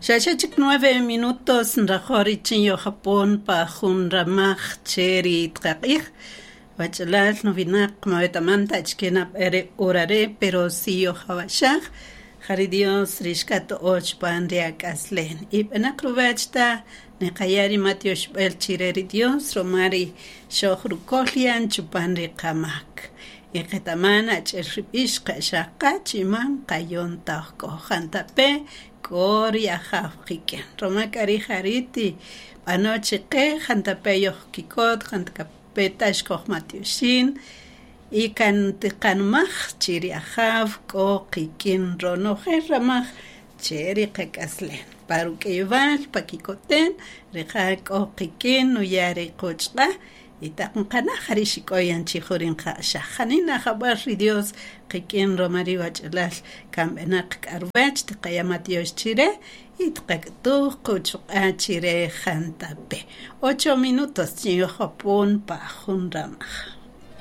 Xa xe chik nueve minutos nrajo' richin yojapon pa jun ramaj che ri tqaq'ij. Wach'alal nuwinaq ma wetaman ta achike nab'ey re hora re', pero si yojawa'xaj, ja ri Dios ri xkato'o chupan ri ak'aslen. Y b'enaq ruwech ta niqaya' ri matyoxb'el chire ri Dios ruma ri xojrukol yan chupan ri qamak. Y qetaman achi'el ri b'ix qa'xaqa chi man qayon ta oj k'o jantape' k'o ri Ajaw qik'in. Ruma k'a ri' ja ri' tib'ano chiqe jantape' yojkikot, jantape' ta xkojmatyoxin y kan tiqanmaj chi ri Ajaw k'o qik'in ronojel ramaj che ri qak'aslen. Pa ruk'ayewal, pa kikoten, rija' k'o qik'in nuya' ri quchq'a' y taq nqana' ja ri' xik'o yan chi jun ri nqa'xaj. Janina jab'äl ri Dios qik'in ruma ri wach'alal kan b'enäq k'a ruwech tiqaya' matyox chire y tiqak'utuj quchuq'a' chire jantape'. Ocho minutos chin yojapon pa jun ramaj.